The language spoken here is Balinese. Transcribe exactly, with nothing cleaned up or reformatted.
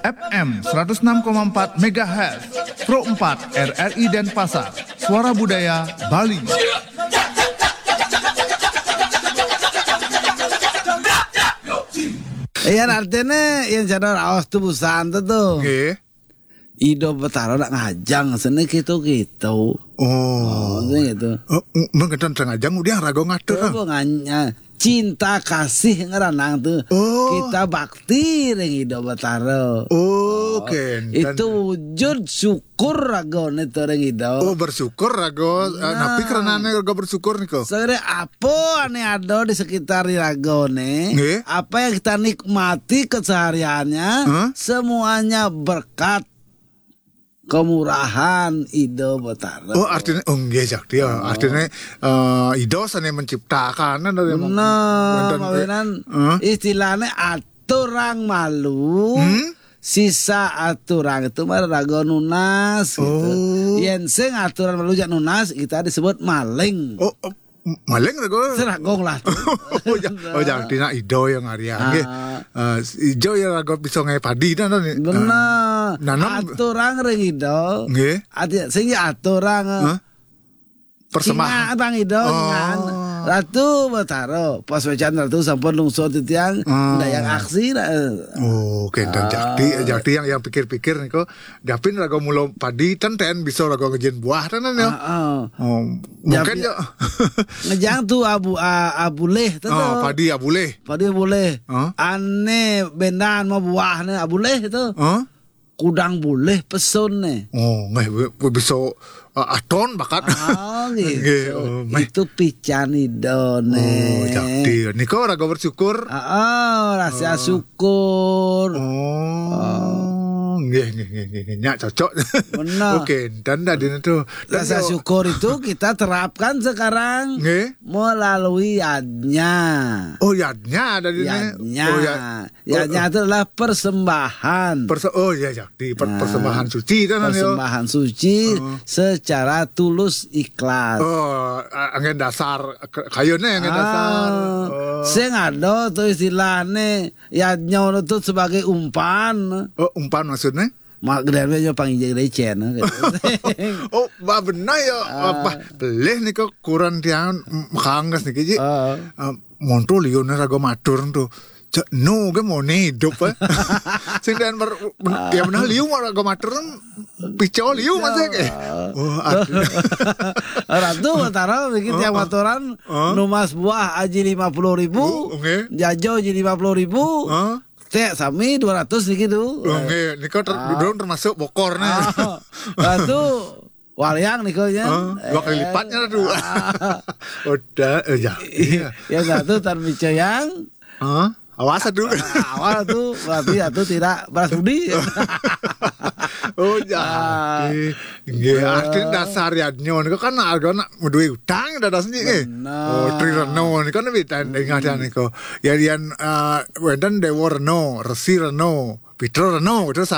F M seratus enam koma empat megahertz, Pro empat R R I Denpasar, Suara Budaya Bali. Yan artinya yan cara raos tuh busan tuh tuh. Nggih. Ido Betara nak ngajang seni gitu-gitu. Oh. Oh, gitu. Oh, mengketan ngajang udah rago ngatur. Tuh nganya cinta kasih ngeranang tuh. Oh. Kita bakti ring Ido Betara. Oh, kenten. Itu wujud syukur ragone tuh ring Ido. Oh, bersyukur rago. Eh, Nah. Napi keranane rago bersyukur niko? Sebenarnya apa ane ada di sekitar di ragone, Nggih. apa yang kita nikmati kesehariannya, Hah? Semuanya berkat kemurahan Ido Betara. Oh, artinya oh nggih Jakti ya. Artinya eh, Ido sane menciptakan dari Benar, wonten- mawinan Hah? Istilahnya aturang malu, Hmm? Sisa aturang itu mah rago nunas gitu. Oh. Yen sing aturang malu jak nunas kita disebut maling. Oh, oh, maling rago. Seragong lah. Oh, ja, oh, Jakti nak Ido yang ngarian nggih. Ah. Eh, Ido yang rago bisa ngai padi dah nih. Benar. Nanam- Aturang ring Ido. Nggih. Artinya sing ya aturang. Hah? Persembahan. Ingat bang Ido, Oh. ingat. Ratu Betara, pas wecan Ratu sampun lungsur titiang, Hmm. Dayang aksi lah. Oh, kenten Jakti, Jakti yang yang pikir-pikir niko, japin rago mulo padi ten ten bisa rago ngejen buah tenan ya. Heeh. Oh, mungkin Japi- ya. Ngejang tuh abu a- abuleh tuh. Oh, padi abuleh. Padi abuleh. Hah? Ane bendan mau buahnya abuleh itu. Hah? Kudang buleh pesun nih. Oh, nggih we- we bisa uh, aton bakat. Oh gitu. Nggih, oh, meh. Itu pican Ido nih. Oh, Jakti. Niko rago bersyukur. Ah, ah, rasa syukur. Oh, nggih nggih nggih nggih. Nyak cocok. Benar. Oke, dan tadi itu. Dan Rasa yo- syukur itu kita terapkan sekarang Nggih. melalui yadnya. Oh, yadnya tadi nih. Yadnya. Oh, ya. Yadnya itu adalah persembahan. Perse- oh ya Jakti, per- Nah, persembahan suci kan yo. Persembahan suci secara tulus ikhlas. Oh, a- angin dasar k- kayune angin dasar. Ah, Oh. Sing ada tuh istilahnya yadnya itu sebagai umpan. Oh, umpan maksudnya? Mak gedenya panggil recen gitu. Oh, bah benar ya. Apa pelih nih kok kurang tiang m- kanges nih Ji. Ah. Ah, monto liu nih rago matur tuh. Cek no ke mau nih hidup eh. Sing dan ber, ben- ya benar liu mau rago matur kan pico liu masa ke. Oh, aduh. Ratu Betara bikin tiang maturan numas buah aji lima puluh ribu, Oh, oke. jajo aji lima puluh ribu, Hah? Teh sami dua ratus nih gitu. Oke, ini kau ter, dorong termasuk bokor nih. Ah, Ratu waliang nih kau ya. Ah, dua kali lipatnya tuh. Udah, eh, ya. Iya. Ya satu tan bica yang Hah? Awas aduh. Awal tuh berarti itu tidak beras budi. Oh, jadi. Nggih, artinya dasar yadnya niku kan arga nak duwe utang dadas niki. Bener. Oh, Tri Reno niku kan beda dengan niku. Ya yen eh, wonten Dewa Reno, Resi Reno, Pitra Reno, terus